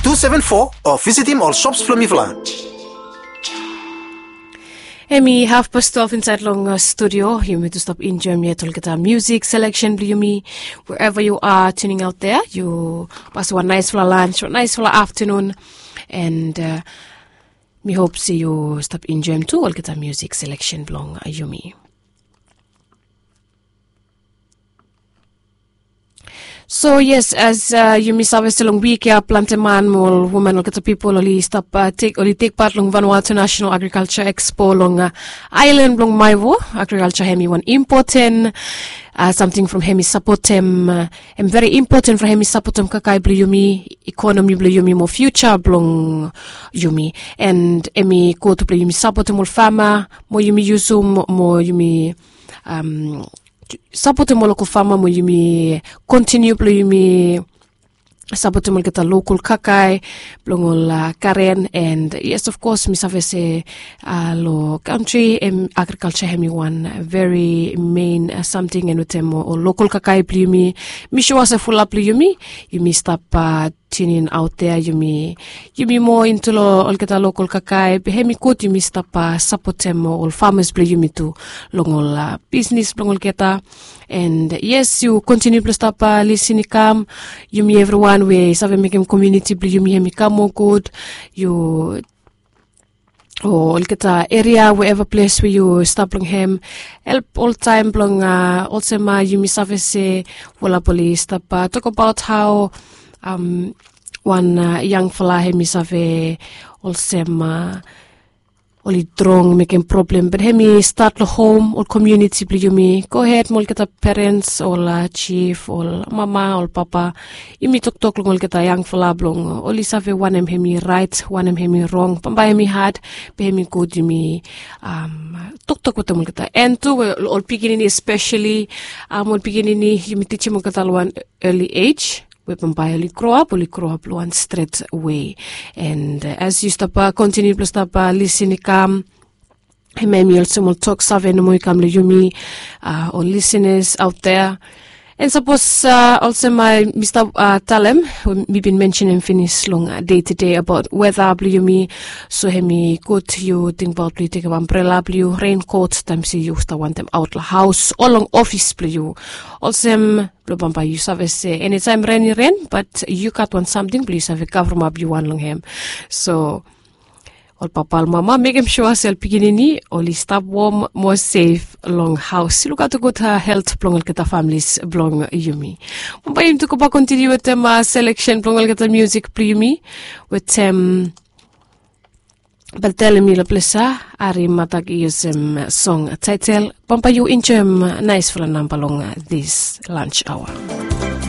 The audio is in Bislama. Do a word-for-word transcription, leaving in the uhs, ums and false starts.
two seven four o visitim ol shops blong mifala. Hemi hafpas twelve insaed long studio. Yumi tu stap enjoem yet olgeta musik seleksen blong yumi. Wherever you are tuning out there, yu pasim wan naesfala lunch, wan naesfala aftenun. And mi hop se yu stap enjoem tu olgeta musik seleksen blong yumi. So yes, as yumi save se long wik ya plante man mo ol woman, olgeta pipol oli stap tek, oli tek pat long Vanuatu National Agriculture Expo long aelan blong Maewo. Agrikalja hemi wan impoten samting from hemi sapotem, hemi veri impoten from hemi sapotem kakae blong yumi, ikonomi blong yumi mo fiuja blong yumi. And hemi gud blong yumi sapotem ol fama mo yumi yusum mo yumi sapotem ol lokol fama mo yumi kontiniu blong yumi sapotem olgeta lokol kakae blong ol garen. And yes, of kos mi save se long kantri agrikalja hemi wan veri mein samting, and wetem ol lokol kakae blong yumi, mi sua se fulap blong yumi, yumi stap tinin aot dea, yumi moa intu long olgeta lokol kakae, be hemi gud yumi stap sapotem ol famas blong yumi tu long ol bisnis blong olgeta. And yes, yu kontiniu blong stap lisin i kam. Yumi evriwan we i save mekem komuniti blong yumi hemi kam moa gud. Yu o olgeta eria, wherever ples we yu stap long hem, help oltaem blong olsem yumi save se fulap oli stap tokbaot hao wan yangfala hemi save olsem oli drong mekem problem, be hemi stat long hom, ol komuniti blong yumi. Gohed mo olgeta perens, ol jif, ol mama, ol papa, yumi toktok long olgeta yangfala blong oli save wanem hemi raet, wanem hemi rong. Bambae hemi had, be hemi gud yumi toktok wetem olgeta. And tu we ol pikinini espeseli, ol pikinini yumi tijim olgeta long wan early age, we bambae oli groap, oli groap long wan stret wei. And as yu stap kontiniu blong stap lisin i kam, hemia hemi olsem ol tok save nomo i kam long yumi, ol lisenas aot dea. And sapos olsem mi stap talem, mi bin mensenem finis long dei tede abaot weta blong yumi. So hemi gud yu tingbaot blong yu tekem ambrela blong yu, renkot, taem se yu stap wantem aot long haos o long ofis blong yu. Olsem blong bambae yu save se enitaem ren i ren, bat yu gat wan samting blong yu save kavremap yu wan long hem. So ol papa, ol mama, mekem sua se ol pikinini oli stap wom mo sef long haos. Lukaot gud helt blong olgeta familis blong yumi. Bambae yumi tu gobak kontiniu wetem seleksen blong olgeta musik blong yumi wetem Beltel Mila Plesa, Ari Matagi, olsem song taetel. Bambae yu enjoem naesfala namba long this lunch hour.